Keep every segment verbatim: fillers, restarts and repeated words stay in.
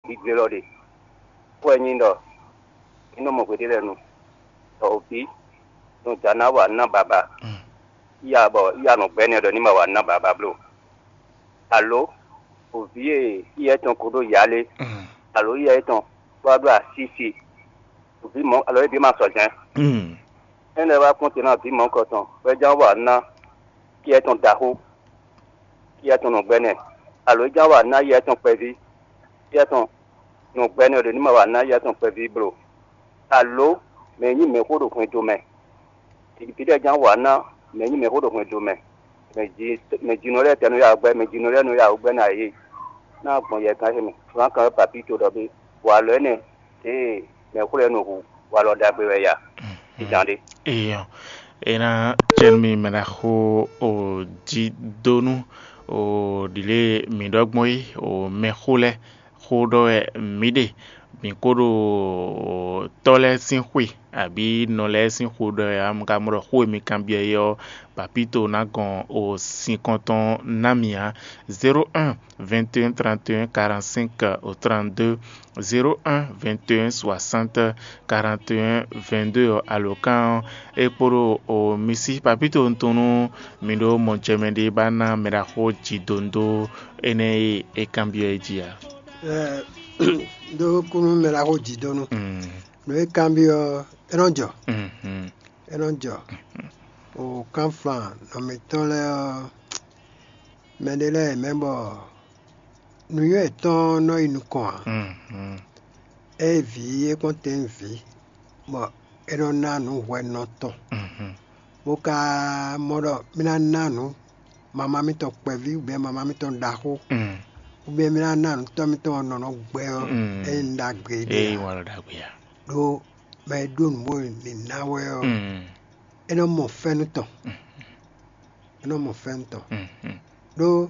gbígbé lɔ ɖe. Xó wɛ nyí ɖɔ mǐ nɔ mɔ hweɖé lɛ́ɛ nu, bɔ o vǐ nɔ jǎ ná wa ná baba, iya bɔ iya nɔ gbɛ́ nɛ́ ɖɔ ní ma wa ná baba bló. Alo o vǐ e iyɛ tɔn ko ɖó yǎ lé, alo iyɛ tɔn wá ɖó asísi, o vǐ mɔ̌ alo é ɖě ma sɔ jɛ́n. Énɛ́ wá kpɔ́n te ná vǐ mɔ̌kɔ tɔn, bɔ é ján wa ná iyɛ tɔn ɖaxó, iyɛ tɔn nɔ gbɛ́ nɛ́, alo é ján wa ná iyɛ tɔn kpɛví, iyɛ tɔn nɔ gbɛ́ nɛ́ ɖě ní ma wa ná iyɛ tɔn kpɛví bló. Alo mɛ e nyí mɛ̌xó ɖo hwɛndo mɛ, vǐ lɛ́ɛ ján wa ná mɛ e nyí mɛ̌xó ɖo hwɛndo mɛ, mɛ ji mɛ jinɔ lɛ́ɛ tɛ nɔ ya wǔ gbɛ́, mɛ jinɔ lɛ́ɛ nɔ ya wǔ gbɛ́ ná yě ná gbɔn yɛ gán ce mɛ. Flán kan wɛ papí to ɖɔ bé, walɔ énɛ́, ée mɛ̌xó lɛ́ɛ nɔ hu walɔ ɖagbe wɛ ya. Ijan ɖé. Eyɔn, é ná jɛ nú mi mɛ ná xo o jí dó nú o ɖǐlé mi ɖɔ gbɔn é o mɛxó lɛ́ɛ xó ɖɔ wɛ mǐ ɖe. Mǐ ko ɖo tɔ́ lɛ́ɛ sín xwe abǐ nɔ lɛ́ɛ sín xwe ɖɔ wɛ ǎ. Un ka mɔ ɖɔ xó e mi kanbyɔ́ é ɔ́, papíto ná gɔn o sinkɔn tɔn ná mì ǎ. Zéro un vingt et un trente et un quarante-cinq au trente-deux, zéro un vingt et un soixante quarante et un vingt-deux ɔ́, alǒkan ɔ́, é kpo ɖo o mi sí papíto tɔn nú mi ɖó mɔjɛmɛ ɖé ba ná mɛ ɖaxó jǐdóndó énɛ́ e è kanbyɔ́ é jí ǎ. Ɛ, ɖó kúnú mɛ ɖaxó jǐdónú. Mm, Nǔ e kanbyɔ́ ɔ́, é nɔ jɔ, mhm, é nɔ jɔ. O kánflán nɔ mǐtɔn lɛ́ɛ ɔ́, mɛɖé lɛ́ɛ mɛ bɔ nǔnywɛ́ yětɔn nɔ yi nukɔn ǎ. Mhm. Ée vǐ é kpɔ́n tɛ́nvǐ, bɔ é nɔ ná nǔ hwɛnɔ tɔn, Mhm. bó ka mɔ ɖɔ mì ná ná nǔ mamá mítɔn kpɛví, ou bien mamá mítɔn ɖaxó, Mm. ou bien mì ná ná nǔ tɔ́ mítɔn nɔ nɔ gbɛ ɔ́, Mm. é nyí nǔ ɖagbe ɖé Eye ǎ. Wǎn lɔ ɖagbe ǎ. Ɖó mɛ e ɖó nǔ bó ní ná wɛ ɔ́, Mm. é nɔ mɔ fɛ́nú tɔn. Mm. É nɔ mɔ fɛ́nú tɔn. Mm. Mm. Ɖó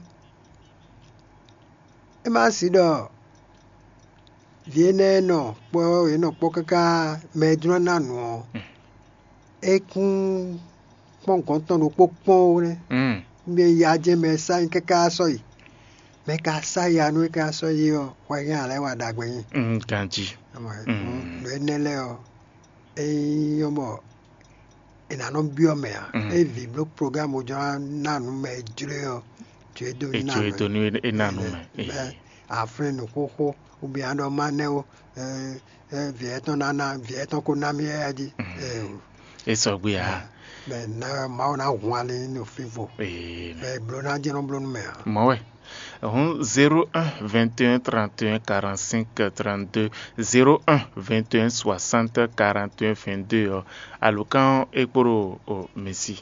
é ma si ɖɔ vǐ énɛ́ e nɔ kpɔ́ yě nɔ kpɔ́ káká mɛ e jló ná nǔ ɔ́, Mm. é kún kpɔ́n gɔ̌n tɔn ɖokpó kpɔ́n ó nɛ́. Mm. Mɛ ya jɛ́n mɛ sá nyí káká sɔ́ yi. Mɛ ka sá ya nú é ká sɔ́ yi ɔ́, hwɛ hɛn alɛ wa ɖagbe nyi. Mm, ganjí. Ama Mm. Nǔ énɛ́ lɛ́ɛ ɔ́, é nyí ɔ́ bɔ è nǎ nɔ byɔ́ mɛ ǎ. Mm. É vǐ bló programme jɔ ná nǔ mɛ e jló ɔ́, jǒ e dó È ná jǒ e nǔ dó nú é ná nǔ mɛ. Mɛ aflín nǔ xóxó, ou bien ɖɔ má nɛ́ ó, ɛ, ɛ, vǐ ɛtɔn ná ná, vǐ ɛtɔn ko ná mì ɛ jí. Mm. Ɛ o. É sɔgbe ǎ. Mɛ ná Mawu ná hun ali ní fífo. Ee, Mɛ bló ná jɛ nɔ bló nú mɛ ǎ. Mɔ̌ wɛ. Hǔn zéro un vingt et un trente et un quarante-cinq trente-deux, zéro un vingt et un soixante quarante et un vingt-deux ɔ́, alǒkan ɔ́ é kpo ɖo o mi sí.